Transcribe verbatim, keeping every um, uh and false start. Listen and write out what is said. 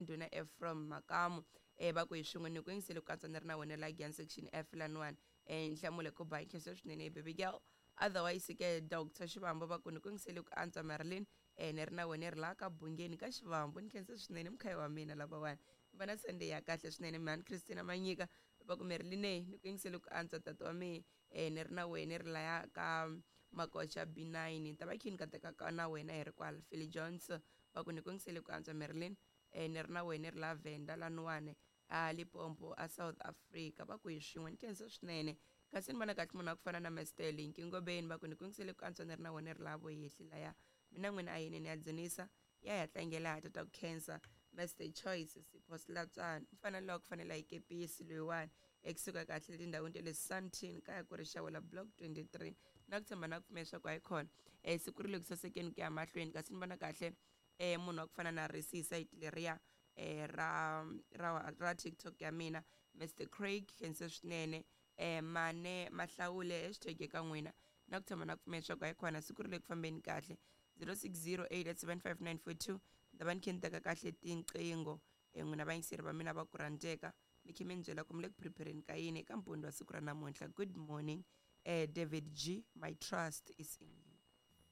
Ndhuna Ephraim Makamu eh va ku hi swin'we ni ku yingisele ku katsa ni ri na wena la Giyani section F laniwani eh nhlamulo ku ba nkhensa swinene baby girl. Otherwise ke Doctor Xivambo va ku ni ku yingisele ku antswa Marilyn, eh ni ri na wena ri laha ka Bungeni ka Xivambo, ni khensa swinene mkhaya wa mina lavawani, va na Sunday ya kahle swinene. Mhani Christina Manyika va ku Marilyn ni ku yingisele ku antswa tata wa mina, eh ni ri na wena ri laya ka Makocha B nine, ni ta va khini ka teka ka na wena hi ri kwala. Philly Jones va ku ni ku yingisele ku antswa Marilyn, eh ni ri na wena ri la Venda laniwani a Limpopo a South Africa, va ku hi swin'we ni khensa swinene. Kasi ni vona kahle munhu wa ku fana na Mister Linki Ngobeni va ku ni ku yingisele ku antswa ni ri na wena ri la Voyehli laya, mina n'wina a yini ni ya dzunisa ya ya tlangela ha tata ku khensa Mister Choice Sipho Silatswana, mfana lowa ku fanela hi kepisi loyiwani ekusuka kahle tindhawini ta le Sandton kaya ku ri Xawela block twenty-three, na ku tshemba na ku pfumela leswaku hayi khona eh siku ri le ku sasekeni ku ya mahlweni. Kasi ni vona kahle eh munhu wa ku fana na Risisa sayiti leriya eh ra ra ra TikTok ya mina Mister Craig khensa swinene eh mane mahlawule hashtag eka n'wina, na ku tshemba na ku pfumela leswaku hayi khona siku ri le ku fambeni kahle. Zero six zero eight seven five nine four two ni ta va ni khe ni teka kahle tinqingho eh n'wina vayingiseri va mina va ku rhandzeka, mi khe mi ni byela ku mi le ku prepareni ka yini eka mpundzu wa siku ra namuntlha. Good morning eh David G, my trust is in you.